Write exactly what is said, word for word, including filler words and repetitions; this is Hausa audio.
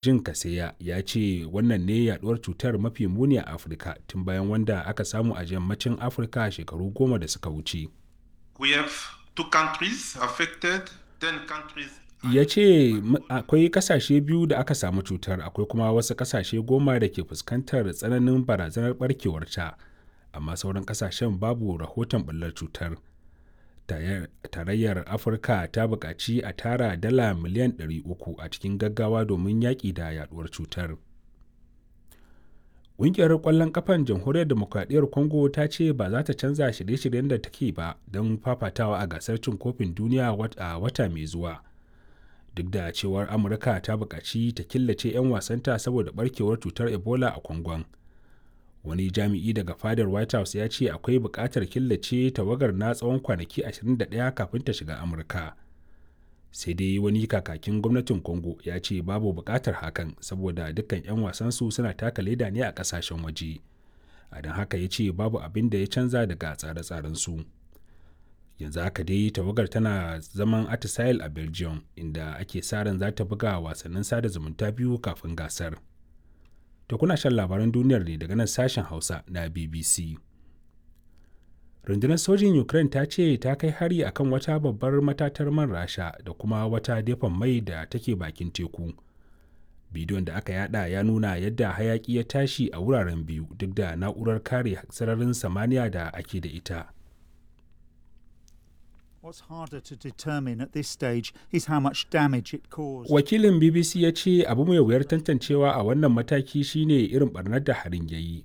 Jin Kaseya ya ce wannan ne yaduwar cutar mafi muni a Afirka tun bayan wanda aka samu a Yammacin Afirka shekaru goma da suka wuce. We have two countries affected, ten countries. Ya ce akwai kasashe biyu da aka samu cutar akwai kuma wasu kasashe goma da ke fuskantar tsananin barazanar barkewarta, amma sauran kasashen babu rahoton ɓullar cutar. Tarayyar Afirka ta buƙaci a tara dala miliyan ɗari uku a cikin gaggawa domin yaƙi da yaduwar cutar. Ƙungiyar ƙwallon ƙafan Jamhuriyar Dimokuraɗiyyar Congo ta ce ba za ta canza shirye-shiryen da take ba don fafatawa a gasar cin kofin duniya a wata mai zuwa. Duk da cewar Amurka ta buƙaci ta killace 'yan wasanta saboda ɓarkewar cutar Ebola a Congon. Wani jami'i daga fadar White House ya ce akwai buƙatar killace tawagar na tsawon kwanaki ashirin da ɗaya kafin ta shiga Amurka. Sai dai wani kakakin gwamnatin Congo ya ce babu buƙatar hakan saboda dukkan 'yan wasansu suna taka leda ne a ƙasashen waje. A don haka ya ce babu abin da ya canza daga tsare-tsarensu. Yanzu haka dai tawagar tana zaman atisaye a Belgium inda ake sa ran za ta buga wasannin sada zumunta biyu kafin gasar. To kuna shan labaran duniyar ne daga nan sashen Hausa na B B C. Rundunar sojin Ukraine ta ce ta kai hari akan wata babbar matatar man Rasha da kuma wata depon mai da take bakin teku. Bidiyon da aka yada ya nuna yadda hayaki ya tashi a wuraren biyu duk da na'urar kare sararin samaniya da ake da ita. What's harder to determine at this stage is how much damage it caused. Wakilin B B C ya ce abu mai wuyar tantancewa a wannan mataki shine irin barnar da harin ya yi,